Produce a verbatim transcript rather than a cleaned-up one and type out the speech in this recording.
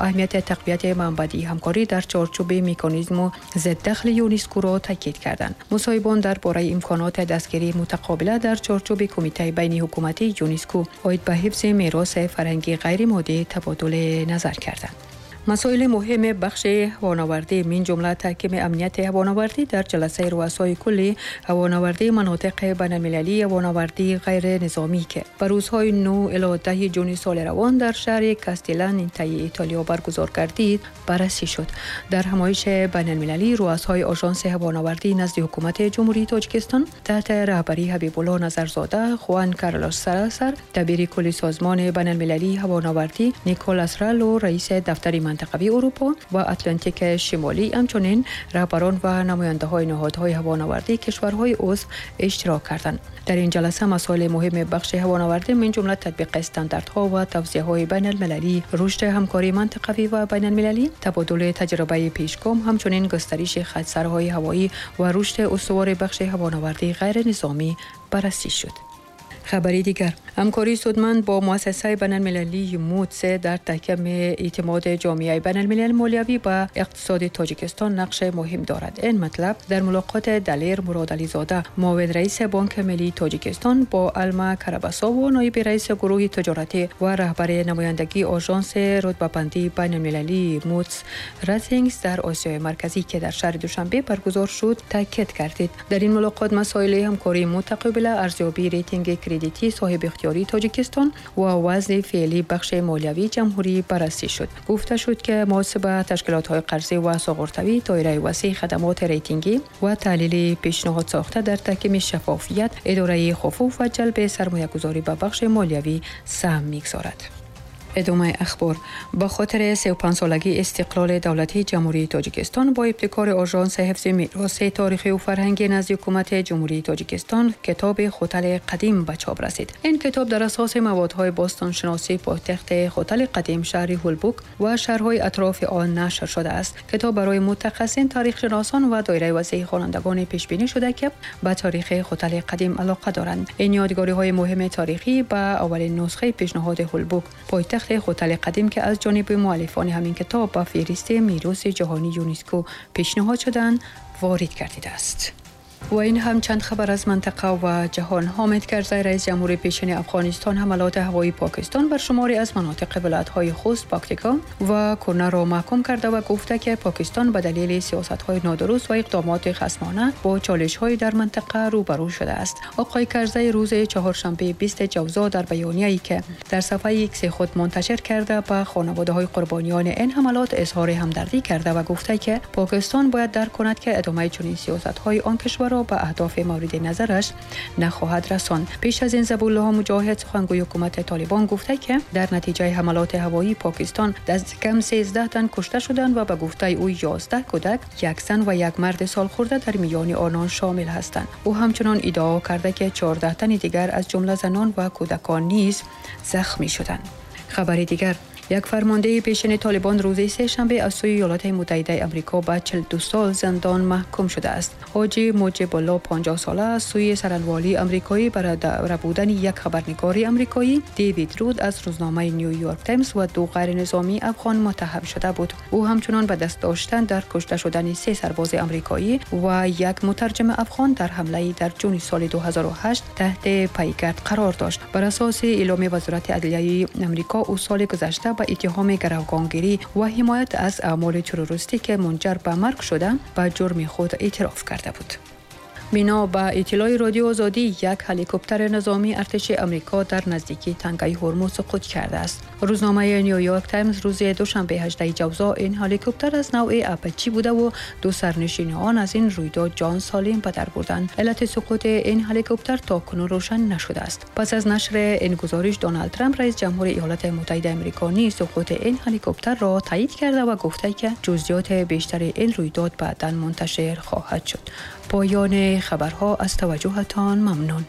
Аҳамияти тақвияти манбаъи ҳамкорӣ дар чорчӯби меканизму зиддахли ЮНЕСКО-ро таъкид карданд. Мусоҳибон дар бораи имконоти дастгирии мутақобила дар чорчӯби Кумитаи байниҳукуматии ЮНЕСКО оид ба ҳифзи мероси фарҳангии ғайримоддӣ табодули назар карданд. Масоили муҳими бахши ҳавонавардӣ, мин ҷумла таҳкими амнияти ҳавонавардӣ, дар ҷаласаи руасои кулли ҳавонавардии манотиқи байналмилалии ҳавонавардии ғайринизомӣ, ки ба рӯзҳои нӯҳ ило даҳи ҷуни соли равон дар шаҳри Кастелланитаи Итолиё баргузор гардид, баррасӣ шуд. Дар ҳамоиши байналмилалӣ руасои Ожонси ҳавонавардӣ назди ҳукумати Ҷумҳурии Тоҷикистон таҳти раҳбарии Ҳабибулло Назарзода, Хуан Карлос Саласар, дабири кулли Созмони байналмилалии ҳавонавардӣ, Николас Ралло, раиси дафтари минтақавии Аврупо ва Атлантики Шимолӣ, ҳамчунин раҳбарон ва намояндаҳои ниҳодҳои ҳавонавардии кишварҳои узв иштирок карданд. Дар ин ҷаласа масоили муҳими бахши ҳавонавардӣ, мин ҷумла татбиқи стандартҳо ва тавсияҳои байналмилалӣ, рушди ҳамкории минтақавӣ ва байналмилалӣ, табодули таҷрибаи пешгом, ҳамчунин густариши хатсарҳои ҳавоӣ ва рушди устувори бахши ҳавонавардии ғайринизомӣ баррасӣ шуд. Хабари дигар: ҳамкории судманд бо муассисаи байналмилалии Мудис дар таҳкими эътимоди ҷомеаи байналмилали молиявӣ ба иқтисоди Тоҷикистон нақши муҳим дорад. Ин матлаб дар мулоқоти Далер Муродализода, муовин раиси Бонки миллии Тоҷикистон, бо Алма Карабасово, ноиби раиси гурӯҳи тиҷоратӣ ва раҳбари намояндагии Ожонси рутбабандии байналмилалии Мудис Ратингс дар Осиёи Марказӣ, ки дар шаҳри Душанбе баргузор шуд, таъкид гардид. Дар ин мулоқот масоили ҳамкории мутақобила, арзёбии рейтинги кредитии соҳиби ихтиёрии Тоҷикистон ва вазъи феълии бахши молиявии ҷумҳурӣ баррасӣ шуд. Гуфта шуд, ки муосиб ба ташкилотҳои қарзӣ ва суғуртавӣ доираи васеи хадамоти рейтингӣ ва таҳлили пешниҳод сохта дар таҳкими шаффофият, идораи хуфуф ва ҷалби сармоягузорӣ ба бахши молиявӣ саҳм мегузорад. Идомаи ахбор: ба хотири сию панҷсолагии истиқлоли давлатии Ҷумҳурии Тоҷикистон бо ибтикори Ожонси ҳифзи мероси таърихию фарҳангӣ назди ҳукумати Ҷумҳурии Тоҷикистон китоби Хотали қадим ба чоп расид. Ин китоб дар асоси маводҳои бостоншиносии пойтахти Хотали қадим, шаҳри Ҳулбук, ва шаҳрҳои атрофи он нашр шудааст. Китоб барои мутахассисин, таърихшиносон ва доираи васеи хонандагоне пешбинӣ шуда, ки ба таърихи Хотали қадим алоқа доранд. Ин ёдгориҳои муҳими таърихӣ ба аввалин нусхаи пешниҳоди Ҳулбук, пойтахти Хотали қадим, ки аз ҷониби муаллифони ҳамин китоб ба феҳристи мероси ҷаҳонии ЮНЕСКО пешниҳод шуданд, ворид гардидааст. Ва ин ҳам чанд хабар аз минтақа ва ҷаҳон. Ҳомид Карзай, раиси ҷумҳури пешини Афғонистон, ҳамалоти ҳавоии Покистон бар шумори аз манотиқи вилоятҳои Хуст, Пактика ва Кунарро маҳкум карда ва гуфта, ки Покистон ба далели сиёсатҳои нодуруст ва иқдомоти хасмона бо чолишҳои дар минтақа рӯбарӯ шудааст. Оқои Карзай рӯзи чаҳоршанбе, бисту ҷавзо, дар баёнияе, ки дар сафҳаи Икси худ мунташир карда, ба хонаводаҳои қурбониёни ин ҳамалот изҳори ҳамдардӣ карда ва гуфта, ки Покистон бояд дарк кунад, ки идомаи чунин сиёсатҳои он кишвар ба аҳдофи мавриди назараш нахоҳад расонд. Пеш аз ин Забуллоҳ Муҷоҳид, сухангӯи ҳукумати Толибон, гуфта, ки дар натиҷаи ҳамалоти ҳавоии Покистон даст кам сездаҳ тан кушта шуданд ва ба гуфтаи ӯ ёздаҳ кӯдак, як зан ва як марди солхӯрда дар миёни онон шомил ҳастанд. Ӯ ҳамчунон иддао карда, ки чордаҳ тани дигар, аз ҷумла занон ва кӯдакон, низ захмӣ шуданд. Хабари дигар: як фармондеҳи пешини Толибон рӯзи сешанбе аз сӯи Иёлоти Муттаҳидаи Амрико ба чилу ду сол зиндон маҳкум шудааст. Ҳоҷӣ Муҷибулло, панҷоҳ сола, аз сӯи саранволии амрикоӣ барои рабудани як хабарнигори амрикоӣ, Дэвид Руд аз рӯзномаи Нью Йорк Таймс, ва ду ғайринизомии афғон муттаҳам шуда буд. Ӯ ҳамчунон ба даст доштан дар кушта шудани се сарбози амрикоӣ ва як мутарҷими афғон дар ҳамлаи дар ҷуни соли ду ҳазору ҳашт таҳти пайгард қарор дошт. Бар асоси эъломи Вазорати адлияи Амрико, ӯ соли гузашта ба иттиҳоми гаравгонгирӣ ва ҳимоят аз аъмоли террористӣ, ки мунҷар ба марг шуда, ба ҷурми худ эътироф карда буд. Бино ба иттилои Радио Озодӣ, як ҳеликоптери низомии артиши Амрико дар наздикии тангаи Ҳурмуз суқут кардааст. Рӯзномаи Нью Йорк Таймс рӯзи душанбе, ҳаждаҳ ҷавзо, ин ҳеликоптер аз навъи Апачи буда ва ду сарнишини он аз ин рӯйдод ҷон солим ба дар бурданд. Иллати суқути ин ҳеликоптер то кунун рӯшан нашудааст. Пас аз нашри ин гузориш, Доналд Трамп, раиси ҷумҳури Иёлоти Муттаҳидаи Амрико, низ суқути ин ҳеликоптерро тасдиқ карда ва гуфта, ки ҷузъиёти бештари ин рӯйдод баъдан мунташир хоҳад шуд. Поёни хабарҳо. Аз таваҷҷӯҳатон мамнун.